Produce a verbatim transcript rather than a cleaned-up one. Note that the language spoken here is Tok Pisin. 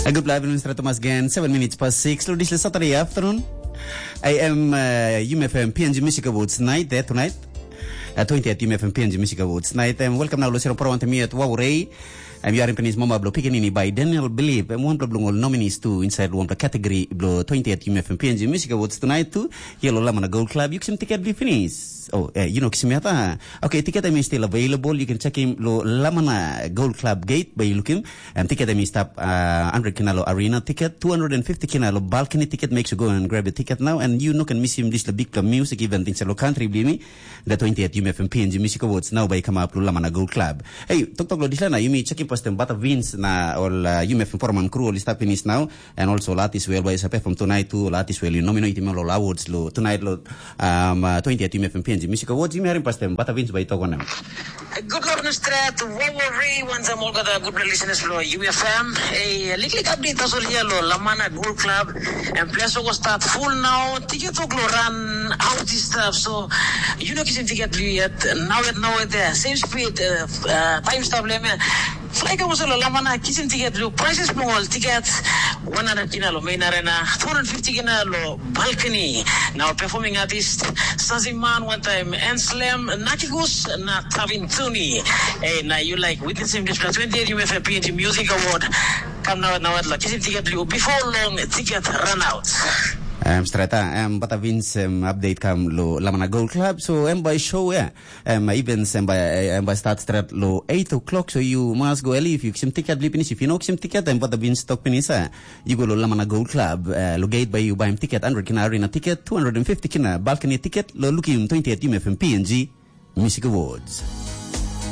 A good live in Mister Thomas again, seven minutes past six. Lo, this is Saturday afternoon. I am uh, U M F M P N G Music Awards night there tonight. Uh, twentieth U M F M P N G Music Awards night. Um, welcome now, Lucero Pro and me at Waurei. Um, you are in Penis Mama Blo Picanini by Daniel Believe. Um, one blo nominees too inside one category blo twentieth U M F M P N G Music Awards tonight too. Yellow Lamana Gold Club. You can ticket be finished. Oh, uh, you know, Kisimiata. Okay, ticket I mean still available. You can check him lo Lamana Gold Club gate by looking. Um, ticket em i stap uh, one hundred kina lo arena ticket, two hundred fifty kina lo balcony ticket. Make sure go and grab a ticket now, and you no can miss him this lo big club music event in lo country blimi. The twentieth U M F M P N G Music Awards now by come up lo Lamana Gold Club. Hey, tok tok lo this na you me checking past them butter beans na all uh, U M F M Foreman crew all stap finish now, and also latis well by sa perform tonight too. Latis well you nominate him all awards lo tonight lo um, uh, twentieth U M F M P N G Music Awards. You me hearing past them butter beans by tok on them. Good luck na stret, Wawarei, wantaim olgeta gutpela listeners lo U F M. Ei, liklik update tasol hia lo Lamana Gold Club. And place go start full now. Ticket tok lo run out this stuff. So, you know kisim ticket lu yet. Now it, now it there. Same speed, uh, uh, time stop le me. Fly ka lo Lamana kisim ticket lu. Prices mo all tickets. one hundred kina lo main arena. two hundred fifty kina lo balcony. Now performing artist Saziman one time and Slam Nakigus na Tavin Tuni. Hey, now you like witnessing this twenty-eight U F P N G Music Award. Come now, now at la. Kisim ticket lu before long ticket run out. Um, strata, um, but I've been some update come lo Lamana Gold Club, so um, by show yeah, um, events um, by um, by start straight lo eight o'clock, so you must go early if you some ticket li finish. If you know some ticket, um, but I've been stock finish, uh, you go lo Lamana Gold Club, uh, lo gate by you buy him ticket, hundred kina arena ticket, two hundred and fifty kina balcony ticket, lo look him twentieth U M F M P N G Music Awards.